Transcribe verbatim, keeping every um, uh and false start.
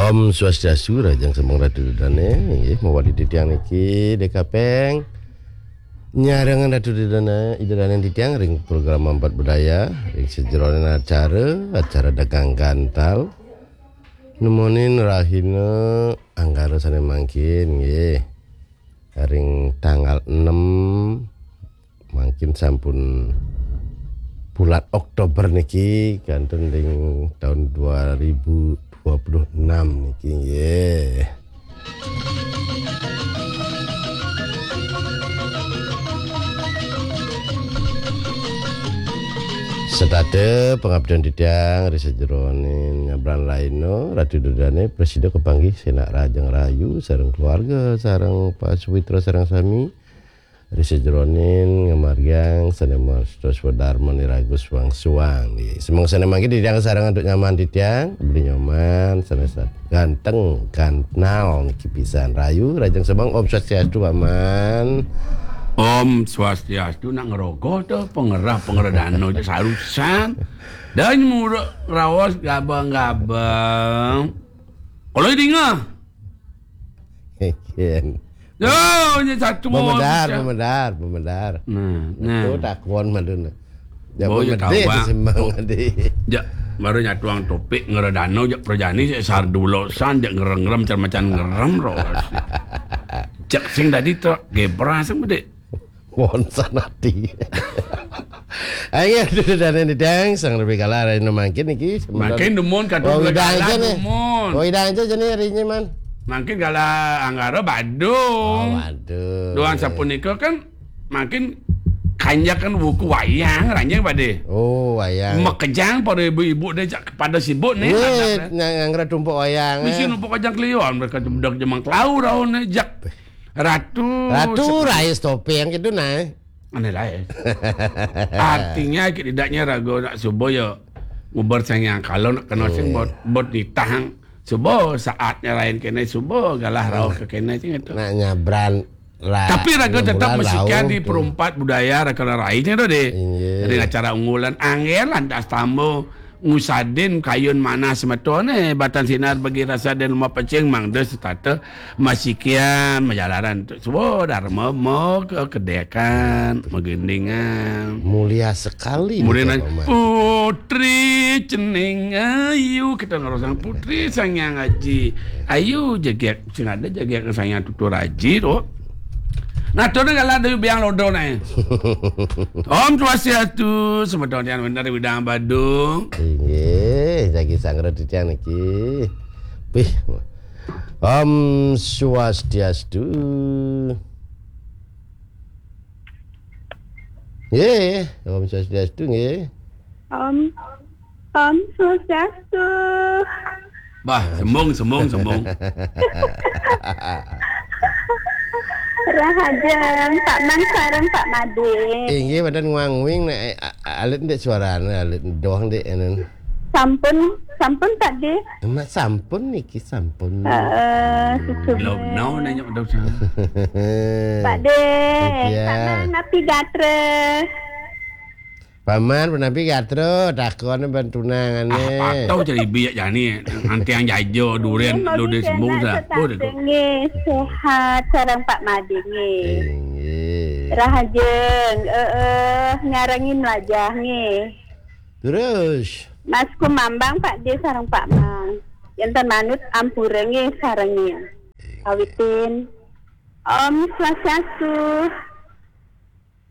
Om Swastiastu, rahajeng semeng Ratu Ida Dane, inggih, mawali titiang niki Dek Kapeng. Nyarengan Ratu Ida Dane, Ida Dane titiang ring program Empat Budaya, ring sajeroning acara, acara Dagang Gantal. Nemonin rahina Anggara sane mangkin, nggih. Ring tanggal enam, mangkin sampun bulan Oktober niki, kantun ring tahun dua ribu dua puluh enam niki, nggih. Setata pangabdian titiang ri sajeroning nyabran laina, Ratu Ida Dane prasida kapanggih senak rahajeng rahayu sareng keluarga, sareng Pak Suwitra, sareng sami. Ri sajeroning ngamargiang sane mastusa swadarman iraga suang-suang. Nggih. Semeng sane mangkin titiang sareng antuk nyaman titiang, Beli Nyoman, sane sat-, ganteng, gantnal niki pisan. Rahayu, rahajeng semeng, Om Swastiastu, Paman. Om Swastiastu, nak ngerogoh to, pengerah, pengerah dano, je sarusan. Dan muruk rawas gabang-gabang. Kalau dinga. Ken. Yo, ini satu mau Pemedar, pecah. Pemedar, pemedar. Nah, nah. Itu takon madun. Ya, Oh, ya, pemedar tahu, Bang. Semang Oh. Adi. Ja, baru nyatuang topik ngeredano, ja, perjani, saya sar dulu, san, ja, ngerem-ngerem, macam-macam ngerem, ro. Cek sing tadi tu, gebra, sing, Dek. Wonten ati. Ayo, duduk dan ini dang, sang lebih kalah, hari ini mangkin niki, sementara Mangkin dumun, kata Oh, dua udah kalah, aja nih. Dumun. Oh, udah aja, jadi hari ini, Man. Mangkin kalah Anggara Badung. Oh, waduh. Duan sapunika kan, mangkin kanjak kan buku wayang, ranjang pada. Oh, wayang. Makejang pada ibu-ibu deh, cak, pada sibuk nih, Weh, anak-anak. Nang, nang tumpuk wayang, Misi eh. Numpuk wayang keliuan, mereka jemdak jemang kelau, raun, eh, jak. Ratu Ratu seperti Rais Topeng gitu, nah. Aneh lain. Artinya, tidaknya raga nak subuh ya, ngubar sang yang kalau nak kena sing Iya. Bot, bot nitahang. Subuh saatnya lain kena subuh, galah rauh ke kena sing itu. Nak nyabran ra-, Tapi raga enam tetap bulan mesikian rauh di tu. Perumpat budaya raga lainnya tu deh. Iya. Dari acara unggulan, angger lantas tamu. Ngusadin kayun manah semetone, batan sinar bagi rasa dan lemah pecing, mangda setata masikian, majalaran tu. Suwa dharma, ma kekedekan, magendingan. Mulia sekali Kemudian niki, Paman. Putri cening ayu, kita ngerosang putri Sang Hyang Aji. Ayu jegek, sing ada jegek Sang Hyang Tutur Aji tu. Nah, tu dah kalau ada biang lodo naik. Om Swastiastu, semeton yang benar di bidang Badung. Inggih, jagi sanggra titiang niki. Pih. Om Swastiastu. Nggih, Om Swastiastu nggih. Om, Om Swastiastu. Bah, sembung, sembung, sembung. Rahajeng, Pak Man sareng Pak Made. Inggih, badan nguang-nguing nek, eh, a-, alit ndik suarane, alit doang ndik, enen. Sampun, sampun, Pak De. Mak sampun niki, sampun. Heeh, susu. Belum, no, nanya udah usah. Pak De, Iya. Pak Man napi gatra? Paman, punapi gatra, takone ben tunangane. Ah, patuh jadi biak jani, nanti yang jajo, durian, Nggih, lu di mungkin sembuh nak dah. Setata Oh, dah. Nggih, sehat, sareng Pak Made nggih. Inggih. Rahajeng, eh, eh, nyarengin wajah nggih. Terus? Mas Kumambang Pak De sareng Pak Mang. Enten manut ampura nggih sarengin. Awitin. Om Swastiastu.